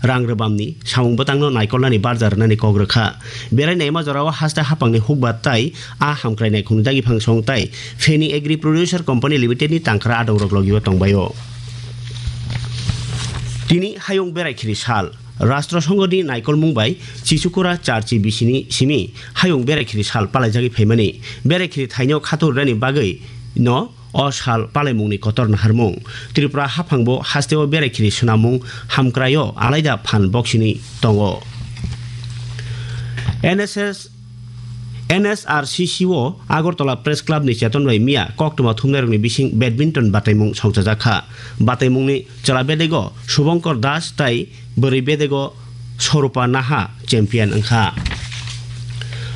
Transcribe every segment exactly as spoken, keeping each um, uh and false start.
rang rwbamni samung bwtangno naikolnani barja rwnani kok rwkha. Berai naima jorao haste haphangni hukbar tai a hamkrai naikhungni dagi phangsong tai Feni Agri Producer Company Limited ni tangkhra adongrok logio tongbaio. Tini hayung berai khiri sal. Rastro Songhoni naikolmung bai Chichukura charchi bisini simi hayung berai khiri sal palaijagwi phaimani. Berai khiri thaino khatur rani bagwi no o sal palaimungni kotor naharmung. Tripura haphangbo hasteo berai khiri swnamung hamkraio alaida phan boksini tongo. N S S, N S R C C o Agartala Press Club ni cheton bai miya koktwma thumnairokni bising badminton bataimung songchajakha. Bataimungni chwla bedego Subhankar Das tai bwrwi bedego Swarupa Naha champion wngkha.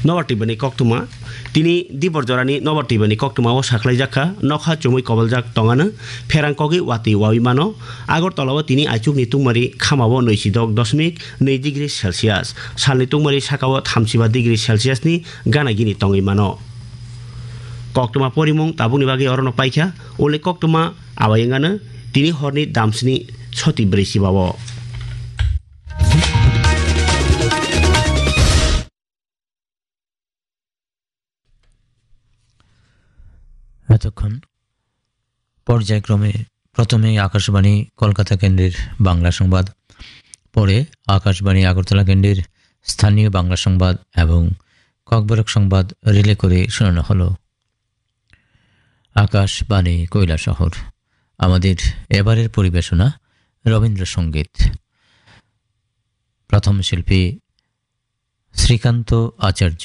Nobar Tibani koktwma. Tini Dibor jorani Nobar Tibani koktwmao saklaijakha, nokha chumui koboljak tongano, pherang kogwi watwi wawi mano. Agartala o tini aichukni tungmari khamao nwisidok dosmik nwi degree Celsius, salni tungmari sakao thamsiba degree Celsius ni gana gini tongwi mano. Koktwma porimung tabukni bagwi orono paikha, ule koktwma abai wngano tini horni damsni soti brwi sibao. এতক্ষণ পর্যায়ক্রমে প্রথমে আকাশবাণী কলকাতা কেন্দ্রের বাংলা সংবাদ, পরে আকাশবাণী আগরতলা কেন্দ্রের স্থানীয় বাংলা সংবাদ এবং ককবরক সংবাদ রিলে করে শোনানো হলো। আকাশবাণী কৈলাসহর। আমাদের এবারের পরিবেশনা রবীন্দ্রসঙ্গীত। প্রথম শিল্পী শ্রীকান্ত আচার্য।